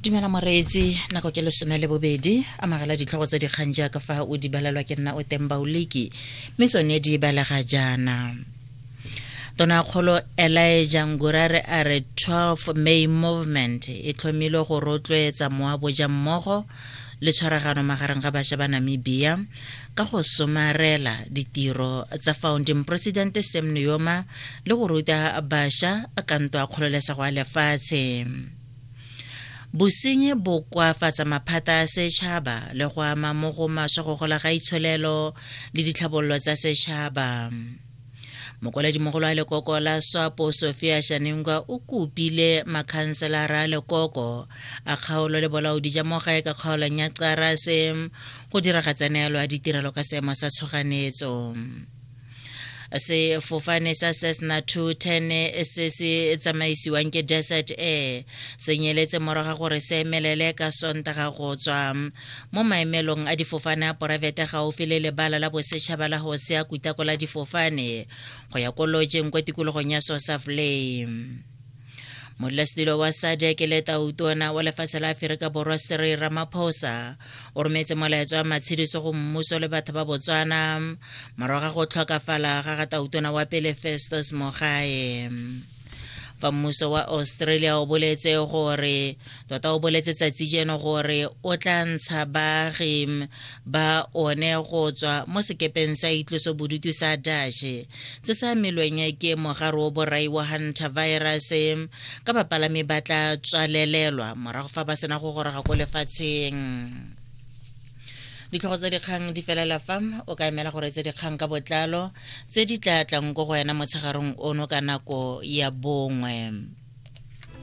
Dumela moreetsi, nako ke 12, amogela ditlhogo tsa dikgang jaaka fa o di balelwa ke nna o Tembauliki, mme tsone di balega jaana. Tonakgolo Elijah Ngurare a re 12 May Movement e tlhomilwe go rotloetsa moaboja mmogo le tshwaragano magareng ga bašwa ba Namibia ka go somarela ditiro tsa founding president Sam Nujoma le go ruta bašwa ka ntwa kgololesego ya lefatshe. Bosenyi bo koafatsa maphata a setšhaba le go ama mo go maswe go gola ga itsholelo le ditlhabololo tsa setšhaba. Mokwaledimogolo wa lekoko la SWAPO Sophia Shaningwa o kopile makhanselara a lekoko a kgaolo le bolaodi ja mo gae ka kgaolong ya Qarase go diragatsa neelo ya ditirelo ka seemo sa tshoganetso. Sefofane sa Cessna 210 se se tsamaisiwang ke Desert Air se nyeletse morago ga gore se emelele ka Sontaga go tswa mo maemelong a difofane a poraefete gaufi le lebala la bosetšhaba la Hosea Kutako la difofane go ya ko lojeng kwa tikologong ya Sosaflay. Modulasetilo wa SADC le tautona wa lefatshe la Aferika Borwa Cyril Ramaphosa o rometse molaetsa wa matshediso go mmuso le batho ba Botswana morago ga go tlhokafala ga ga tautona wa pele Festus Mogae. Fa mmuso wa Australia o boletse gore tota o boletse tsatsi jeno gore o tla ntsha baagi ba one go tswa mo sekepeng sa itloso bodutu sa Dutch se se amilweng ke mogare o borai wa hantavirus ka bapalami ba tla tswalelelwa morago fa ba sena go goroga ko lefatsheng. Ditlhogo tsa dikgang di felela fa o ka emela gore tse dikgang ka botlalo tse di tla tlang ko go wena motshegarong ono ka nako ya bongwe.